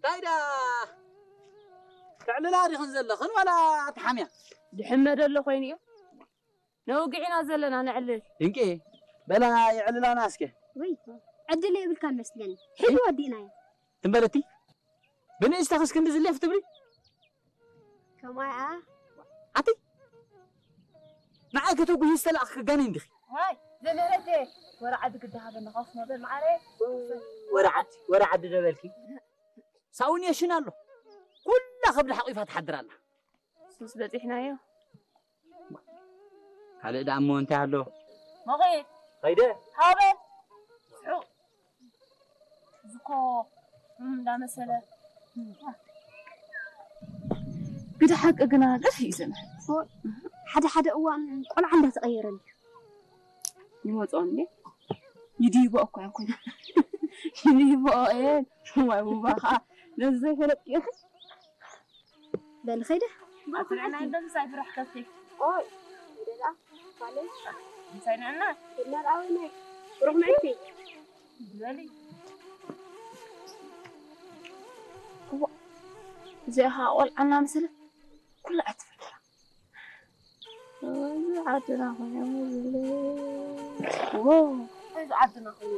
ኣይዳ፣ ተዕልላ ዲኽን ዘለኽን ዋላ ትሓምያ? ድሕመ ደሎ ኮይኑ እዩ። ነውግዕ ኢና ዘለና፣ ነዕልል። ድንቂ፣ በላ የዕልላና እስከ። ወይ፣ ዕድል የብልካን መስለኒ። ሕጂ ወዲእናዮ። ትም በለቲ፣ ብንእሽተኽስ ክንዲ ዝሌፍ ትብሊ? ከምኣ። ኣቲ፣ ንዓይ ከተጉሂ ዝተላእኽኪ ጋኔን ዲኺ? ዋይ፣ ዘመረተ፣ ወረ ዓዲ ግዲ ሃበና፣ ካስ መበል መዓረ። ወረ ዓዲ፣ ወረ ዓዲ ደበልኪ። ሳውን የሽን ኣሎ። ኩላ ከብዲ ሓቂፋ ትሓድር ኣላ። ሱስ በጺሕናዮ። ካልእ ደኣ እሞ እንታይ ኣሎ? መኺድ። ከይደ። ሃበል። ስሑ። ዝኮ እንዳመሰለ። ግደ ሓቂ ግና ገፊ እዩ ዘመን። ሓደ ሓደ እዋን ቆልዓ እንዳተቐየረኒ። ይመፅኦ እንዴ? ይድይቦ እኮ ይኮን። ይድይቦ እየ። ዋይ ውባ ከዓ ነዚ ዘይፈለጥኪ ኢኺ። በል ኸይደ። ኣትንዕና እንደምሳይ ብራሕ ከፍቲ። ኦይ፣ ደላ፣ ባለ። ምሳይ ንዕና። ደላ ኣወይ ናይ ሩሕ መዕልቲ። በሊ። እዋ፣ እዚኣ ኸዓ ቆልዓ እናመሰለት ኩላ እያ ትፈልጣ። እዚ ዓድና ኮይኑ ዝብለ። ዎ። እዚ ዓድና ኮይኑ